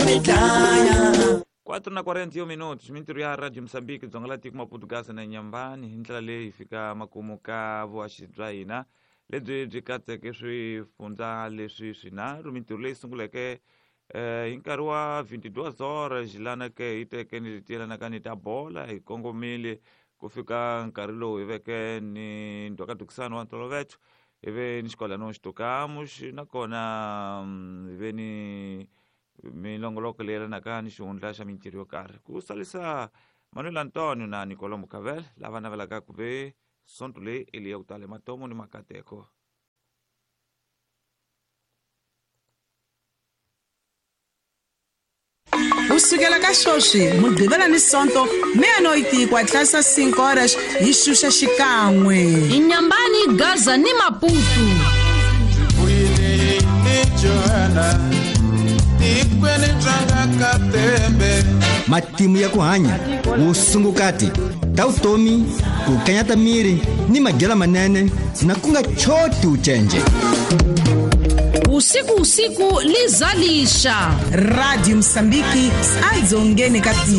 ku ni dlaya. 4:41 minutos. Mintirho ya Radio Mozambique Dzonga la tiko Maputo, Gaza na Nyambani. Hi ndlela leyi hi fika makumu ka vuhaxi bya hina lebyi byi katseke swifundza leswi swinharhu. Mintirho leyi sunguleke hi nkarhi wa 22 horas lana ke hi teke ni tiyelanaka ni ta bola hi kongomile ku fika nkarhi lowu hi veke ni ndhwakadukisano wa ntoloveto, hi ve ni xikolano xitokamos, nakona hi ve ni milongoloko leyi yelanaka ni xihundla xa mintirho yo karhi. Ku salisa Manuel Antonio na Nicolo Mucavel lava navelaka ku ve sonto leyi i leya ku tala matomo ni makateko. Ku sukela ka sweswi Mugqivela ni Sonto meia-noite ku atlasa 5 horas hi xuxa xikan'we. Inyambani, Gaza ni Maputo. Vuyile ni Johanna tikweni bya katembe. Matimu ya ku hanya, vusungukati ta vutomi, ku kanyata miri ni madyelo manene na ku nga choti ucenje. Usiku usiku lizalisha. Radio Mosambiki adzongeni ka.